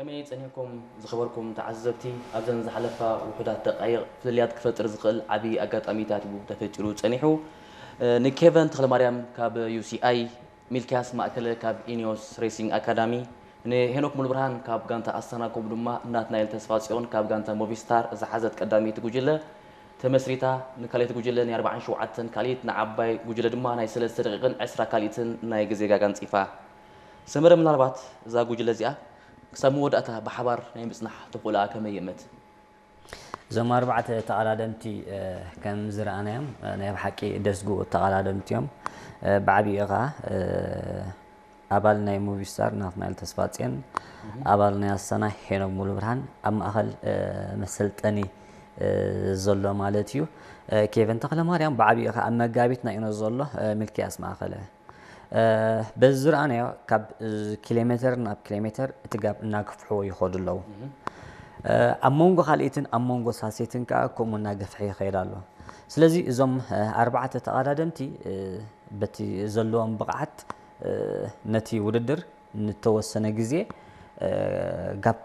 ከመይ ጸኒሕኩም ዝኸበርኩም ተዓዘብቲ? ኣብዘን ዝሓለፋ ውሑዳት ደቃይቕ ፍልልያት ክፈጥር ዝኽእል ዓቢ ኣጋጣሚታት እዩ ተፈጢሩ ጸኒሑ። ንኬቨን ተኽለማርያም ካብ ዩ ሲ ኣይ፣ ሚልክያስ ማእከለ ካብ ኢኒዮስ ሬሲንግ ኣካዳሚ፣ ንሄኖክ ሙሉብርሃን ካብ ጋንታ ኣስታና፣ ከምኡ ድማ ናትናኤል ተስፋጽዮን ካብ ጋንታ ሞቪስታር ዝሓዘት ቀዳመይቲ ጉጅለ ተመስሪታ፣ ንካልኣይቲ ጉጅለ ናይ ኣርባዓን ሸውዓተን ካልኢት፣ ንዓባይ ጉጅለ ድማ ናይ ሰለስተ ደቂቕን ዕስራ ካልኢትን ናይ ግዜ ጋጋ ኣንጺፋ። ሰመረ፣ ምናልባት እዛ ጉጅለ እዚኣ ክሳብ መወዳእታ ብሓባር ናይ ምጽናሕ ተኽእሎኣ ከመይ ይእምት? እዞም ኣርባዕተ ተቐዳደምቲ፣ እ፣ ከም ዝረኣናዮም፣ እ፣ ናይ ብሓቂ ደስጉ ተቐዳደምቲ እዮም። እ፣ ብዓቢኡ ኸዓ፣ እ፣ ኣባል ናይ ሙቪስታር ናትናኤል ተስፋጽዮን፣ ኣባል ናይ ኣሰና ሄኖክ ሙሉብርሃን፣ ኣብ ማእኸል፣ እ፣ መሰልጠኒ፣ እ፣ ዘሎ ማለት እዩ። እ፣ ኬቨን ተኽለማርያም ብዓቢኡ ኸዓ ኣብ መጋቢት ናይ ኢኖ ዘሎ፣ እ፣ ሚልክያስ ማእከለ። እ፣ በዚ ዝረኣናዮ ካብ፣ እ፣ ኪሎ ሜተር ናብ ኪሎ ሜተር እቲ ጋብ እናገፍሕዎ ይኸዱ ኣለዉ። እ፣ ኣብ መንጎ ካልኢትን ኣብ መንጎ ሳሴትን ከኣ ከምኡ እናገፍሐ ይኸይድ ኣሎ። ስለዚ እዞም፣ እ፣ ኣርባዕተ ተቐዳደምቲ፣ እ፣ በቲ ዘለዎም ብቕዓት፣ እ፣ ነቲ ውድድር ንተወሰነ ግዜ፣ እ፣ ጋፕ